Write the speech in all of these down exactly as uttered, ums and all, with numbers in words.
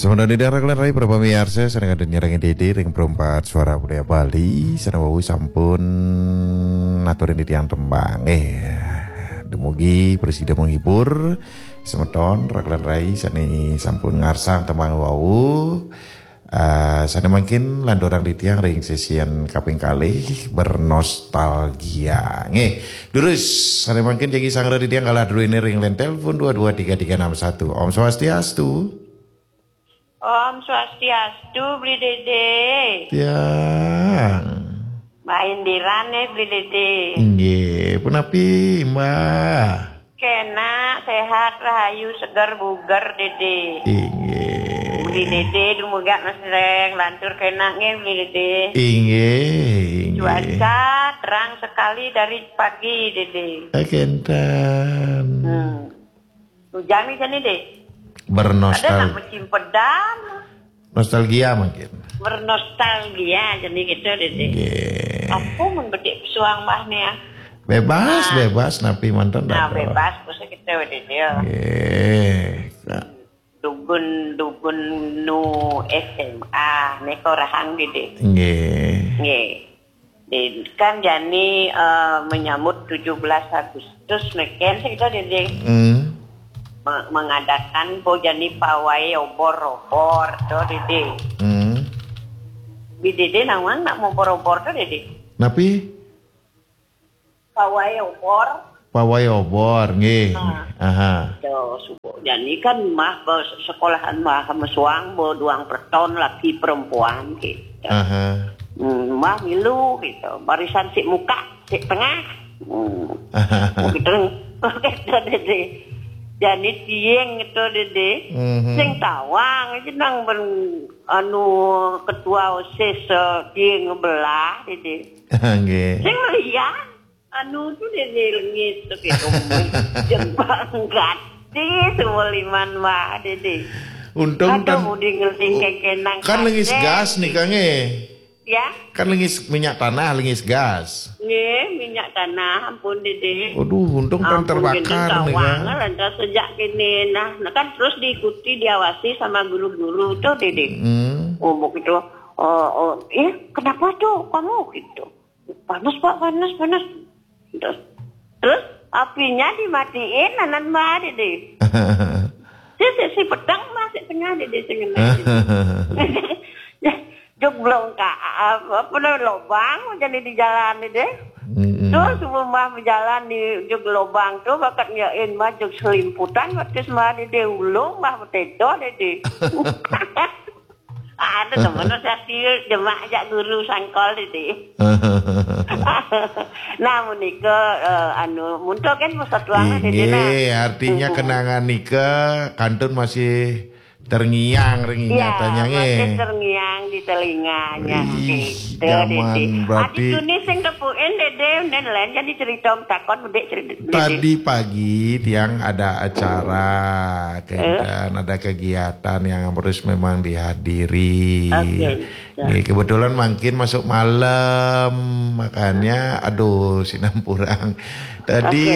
Semeton titiang raka lan rai para pamiarsa sané kantun nyarengin Dédé ring Perempat Suara Budaya Bali, sané wau sampun aturin titiang tembang. Eh, dumugi prasida menghibur semeton raka lan rai sané sampun ngarsang tembang wau. Eh, sané mangkin lanturang titiang ring sesian kaping kalih bernostalgia. Nggih, durus sané mangkin jagi sangra titiang kalah druéné ring line telepon dua dua tiga tiga enam satu. Om Swastiastu. Om Swastiastu, Bli Dédé. Tiang. Mbah Indira nih, Bli Dédé. Inggih, punapi, Mbah? Kénak, séhat, rahayu, seger, buger, Dédé. Inggih. Bli Dédé, dumugi masih lantur kénak nggih, Bli Dédé. Inggih, inggih. Cuaca terang sekali dari pagi, Dédé. Eh, kénten. Hmm. Hujan nih jani, Dé. Bernostal- Ada nak musim pedang. Nostalgia mungkin. Bernostalgia jani gitu, Dédé. Nggih. Apa mun bedik pesuang Mbah nih ya? Bebas, Nah. bebas, napi manten Nah, dah, bebas, bisa kita, Dédé. Nggih. Dugun, dugun nu S M A, nih korahang, Dédé. Nggih. Nggih. Di, kan jani, eh, menyambut tujuh belas Agustus, meken sih kita, Dédé. Hmm. Me-, mengadakan po jani pawai obor-obor, to, Dédé. Hmm. Bli Dédé nawang nak mobor-obor, to, Dédé. Napi? Pawai obor. Pawai obor, nggih. Ah. Aha. Yo, subuh. Jani kan mah ba sekolahan mah mesuang ba duang perton laki perempuan gitu. Aha. Hmm, mah milu gitu. Barisan sik muka, sik tengah. Hmm. Gitu. Gitu, Dédé. Jani tiang gitu, Dédé. Mhm. Sing tawang aja nang ben anu ketua OSIS, eh, tiang belah, Dédé. Nggih. Sing lian. Anu tu dia ni lengis tu, gitu. Jeng banggat. Di semua liman mah, Dédé. Untung Aduh, tan-, mudi ngeling u-, kekenang kan lengis kate. Gas nih, Kang, eh. Ya? Kan lengis minyak tanah, lengis gas. Nggih, minyak tanah, ampun, Dédé. Waduh, untung tan Ampun, terbakar Dédé, nih, Kang. Lantas sejak kini, nah, nah, kan terus diikuti, diawasi sama guru-guru tuh, Dédé. Hmm. Oh, begitu. Oh, oh, "Ih, kenapa tuh kamu?" gitu. "Panas, Pak, panas, panas." Terus, terus apinya dimatiin, anan mah, Dédé. Si, si, si pedang masih tengah, Dédé, sing ngena. Jog belongka, apa, apa namanya, lobang, jadi di jalan, Dédé. Mm-mm. Terus sebelum mah berjalan di jog lobang tuh, bakat nyain mah jog selimputan, waktu mah, Dédé, ulung mah betedo, Dédé. Ada temen saya sih, demak ajak guru sangkol, Dédé. Nah, menika, eh, anu, muntuk kan pusat ruangan, Dédé, nah. Inggih, artinya Hmm. kenangan nika kantun masih terngiang ring Iya, ingatannya, masih nggih. Terngiang di telinganya, Ih, gitu, zaman Dédé. Berarti Adi Tuni sing tepukin, Dédé, nen lain jadi cerita takon, Dédé, cerita, Dédé. Tadi pagi tiang ada acara, Eh? Kenten, ada kegiatan yang harus memang dihadiri. Oke. Ya. Nggih, kebetulan mangkin masuk malam, makanya, aduh, sinampurang. Tadi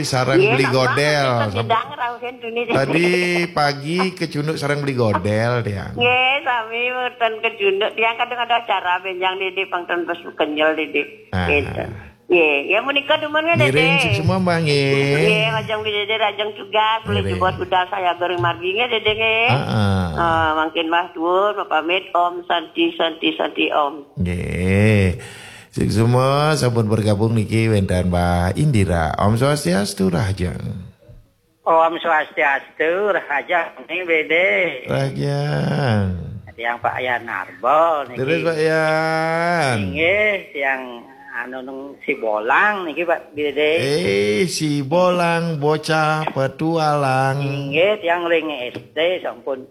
Oke. sareng Iya, beli sama, godel, kita sama sidang rauhin dunia. Tadi pagi kecunduk sareng beli godel, tiang. Nggih, sami mboten kecunduk. Tiang kadang ada acara benjang di, di pangton bes kenyel di, di. Ah. Gitu. Nggih, ya menika dumun nggih, Dédé. Ngiring, suksma, Mbah, nggih. Nggih, lajeng Dédé, lajeng tugas, boleh Ngiring. Jebos budal saya goreng margi nggih, Dédé, nggih. Heeh. Eh, mangkin Mbah duwur, pamit, Om Santi, Santi, Santi, Om. Nggih. Suksma sampun bergabung niki wénten Mbah Indira. Om Swastiastu, rahajeng. Om Swastiastu, rahajeng nih, Dédé. Rahajeng. Tiang Pak Yan Arbol niki. Terus, Pak Yan. Inggih, tiang anu nang Sibolang niki, Pak, Dédé. Eh, Sibolang bocah petualang. Inggih, tiang ring S D sampun,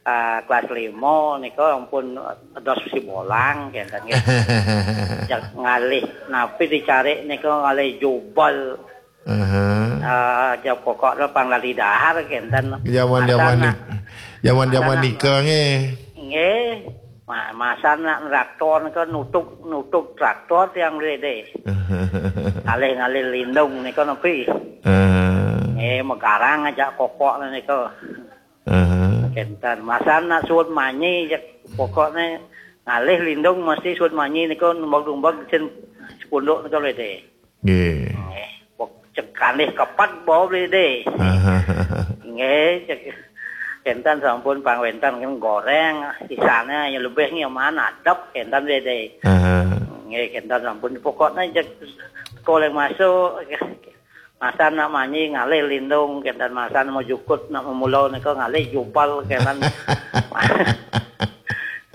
ah, kelas lima nika ampun dos Sibolang, kenten nggih. Jak ngalih, napi dicari nika ngalih jubel. Aha. Ah, jawab pokok lo pang lali dahar kenten. Zaman-zaman Asal ni-, nak, zaman-zaman asal nak nika nggih. Nggih. Ma-, masa nak traktor nika nutuk, nutuk traktor tiang Dédé. Ngalih-ngalih lindung nika napi. Eh. Nggih, megarang ajak kokok nika. Aha. Kénten, masa nak suud manyi, cék pokokné ngalih lindung mesti suud manyi nika numbag-numbag sing sepunduk nika, Bli Dédé. Nggih. Nggih, pok-, cék kalih kepet bawa, Bli Dédé. Nggih, cék kénten sampun pang wénten kan goréng, sisané ya lebih nggih man adep kénten, Bli Dédé. Nggih, kénten sampun pokokné cék koleng masuk. Masa nak manyi ngalih lindung, kénten masa mau jukut, nak memula nika ngalih jubal, kénten.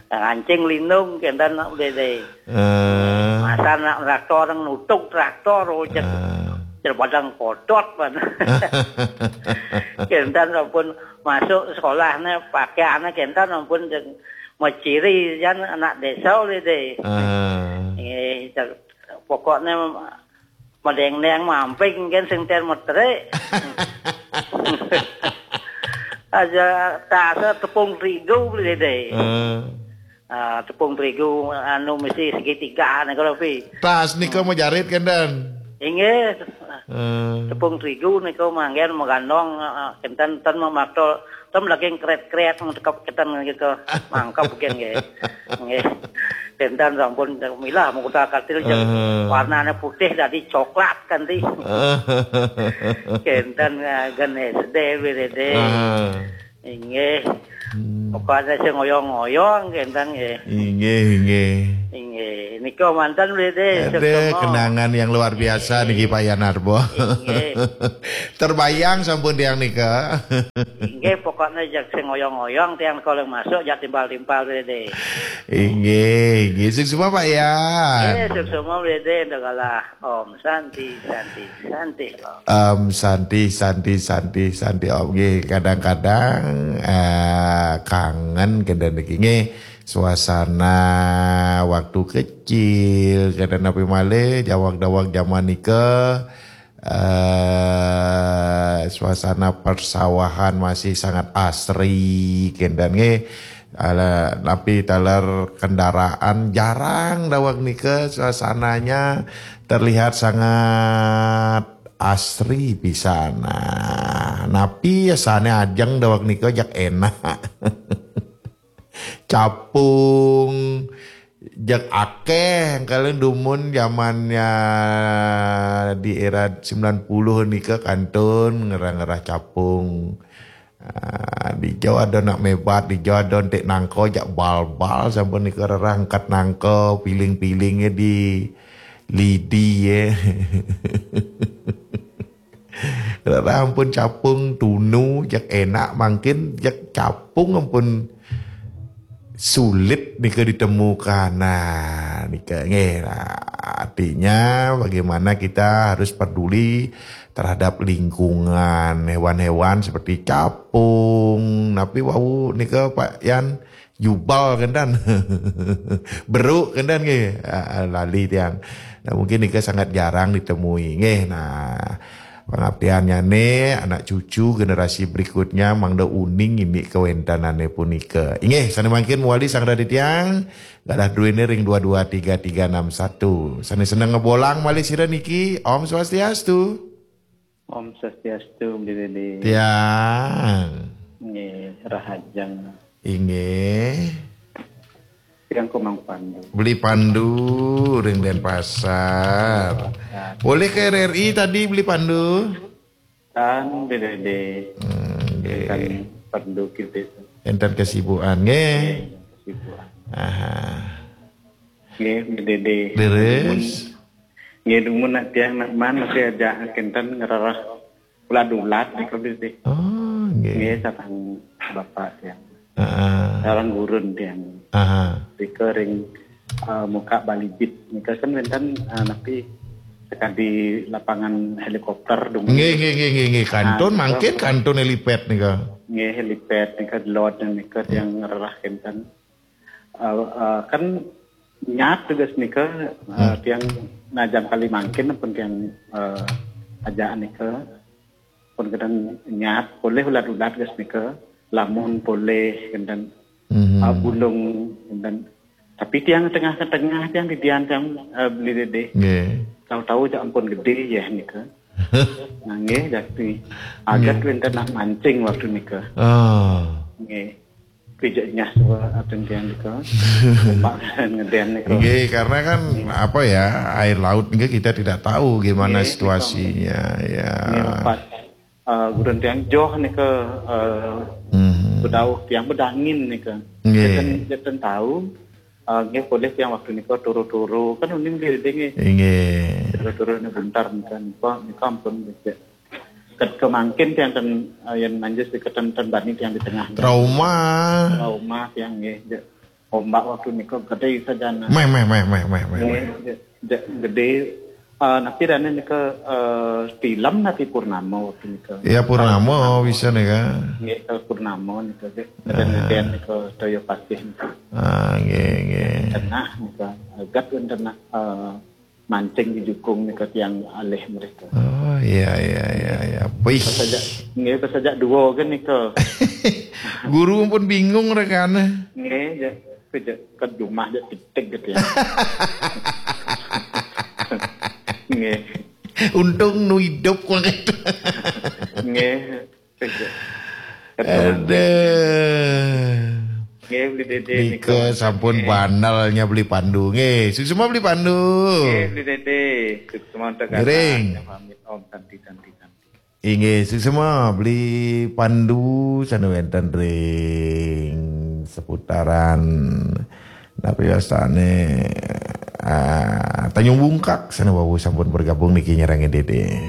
Ngancing lindung, kénten nak Bli Dédé. Eh. Masa nak traktor, nutuk traktor, oh, cék, Ah. cék padang kotot, pan. Kénten sampun masuk sekolahné, pakaianné kénten sampun cék meciri, jan anak désa, Bli Dédé. Ah. Eh, cék, pokokné madéngdéng mamping kan sing ten metrik. Aja tas tepung terigu, Bli Dédé. Eh. Ah, tepung terigu anu mesti segitiga nika lho, Pi. Tas nika majarit kénten. Inggih. Eh. Tepung terigu nika manggen magandong, eh, kénten ten mamakta Tem lagi kret-kret, tekep keten gitu. Mangkep mungkin nggih. Nggih. Kénten sampun milah mukuta katil jeng. Eh. Warnané putih dadi coklat kan ti. Kénten, eh, gen S D, Bli Dédé. Eh. Inggih. Hmm. Pokoknya sing ngoyong-ngoyong kénten nggih. Inggih, inggih. Inggih. Nika manten, Bli Dédé. Ada suksma. Kenangan yang luar biasa niki, Pak Yanarbo. Inggih. Terbayang sampun tiang nika. Inggih, pokoknya jak sing ngoyong-ngoyong, tiang kalau masuk jak timpal-timpal, Bli Dédé. Inggih, inggih. Suksma, Pak Yan. Inggih, suksma, Bli Dédé, ndak kalah. Om Santi, Santi, Santi, Om. Om Santi, Santi, Santi, Santi, Om. Nggih, kadang-kadang, eh, kangen kénten niki. Nggih, suasana waktu kecil, kénten napi malih, jawang-jawang zaman nika, eh, suasana persawahan masih sangat asri, kénten nggih. Ala, tapi taler kendaraan jarang daweg nika, suasananya terlihat sangat asri pisan. Nah, napi sané ajeng daweg nika jak énak. Capung, jak akéh, kalian dumun zamannya di era sembilan puluh nika kantun ngerah-ngerah capung. Ah, dijo ada nak mébat, dijo ada entik nangka, jak bal-bal sampun nika rerah angkat nangka, piling-pilingnya di lidi ya. Rerah ampun capung tunu, jak énak mangkin, jak capung ampun sulit nika ditemukan. Nah, nika nggih. Nah, artinya bagaimana kita harus peduli terhadap lingkungan, hewan-hewan seperti capung. Tapi wau nika Pak Yan jubal kénten. Beruk kénten nggih. Ah, lali tiang. Nah, mungkin nika sangat jarang ditemui. Nggih. Nah, pangaptiannyané anak cucu generasi berikutnya mangda uning ini kawéntenané punika. Inggih, sané mangkin mawali sang raditya, galah druéné ring dua dua tiga tiga enam satu. Sané seneng ngebolang malih sira niki, Om Swastiastu. Om Swastiastu, Bli Dédé. Tiang. Nggih, rahajeng. Inggih. Tiang Komang Pandu. Beli Pandu, ring Denpasar. Boleh ke R R I tadi, Beli Pandu? Tan, Bli Dédé. Hmm, nggih. Kan Pandu kita. Enten kesibukan, nggih. Nggih, kesibukan. Aha. Nggih, Bli Dédé. Leres. Nggih, dumun nak tiang nak man masih aja kénten ngerereh ulat-ulat nika, Bli Dédé. Oh, nggih. Nggih, sareng bapak tiang. Heeh. Sareng gurun tiang. Aha. Nika ring, eh, muka Balibit. Nika kan wénten, eh, napi sakadi lapangan helikopter dumun. Nggih, nggih, nggih, nggih, nggih. Kantun, ah, mangkin kantun helipad nika. Nggih, helipad nika delod nika tiang ngerereh kénten. Eh, eh, kan nyat teges nika, eh, hmm, tiang najam kali mangkin pun tiang, eh, ajak nika pun kadang nyat polih ulat-ulat ges nika, lamun polih kadang, hmm, eh, bulung kadang. Tapi tiang tengah-tengah tiang di dian tiang, eh, Beli Dédé. Nggih. Tahu-tahu jak ampun gedé ya nika. Nah, nggih, jakti. Agat, nggih, wénten nak mancing waktu nika. Ah. Nggih. Pijak nyah suba aten tiang nika. Ombak ngeden nika. Nggih, karena kan apa ya, air laut nggih kita tidak tahu gimana Nggih, situasinya ya. Nggih, empat. Uh, gurun tiang joh nika uh, Hmm. bedauh tiang bedangin nika. Nggih. Jeten, jeten tahu. Uh, nggih, polih tiang waktu nika turu-turu kan uning diri nggih. Nggih. Turu-turu ni buntar nika nika nika ampun nika. Ket kemangkin tiang ten uh, yang manjus di keten ten bani tiang di tengah. Trauma. Trauma tiang nggih. Je, ombak waktu nika gede sajana. Meh meh meh meh meh meh. Nggih, je, je, gede. Uh, napi dana nika uh, film napi purnama waktu nika. Ya purnama bisa nih kan. Nggih, ke purnama nika je. Dan kemudian nika toyo pasih nika. Ah, nggih nggih. Tengah nika. Agat pun tengah uh, mancing di jukung nika tiang alih mereka. Oh iya iya iya iya. Wih. Sajak nggih sajak dua kan nika. Guru pun bingung rekan. Nggih, je. Kerja ke rumah je titik gitu ya. Nggih. Untung nu hidup kok gitu. Nggih. Kerja. Aduh. Nggih, beli dede Nika sampun banalnya beli Pandu. Nggih, suksma beli Pandu. Nggih, beli dede. Suksma untuk Ngiring. Pamit om tanti tanti tanti. Inggih, suksma beli Pandu sane wenten ring seputaran napi wastane ah, Tanjung Bungkak sane wau sampun bergabung niki nyerang dede.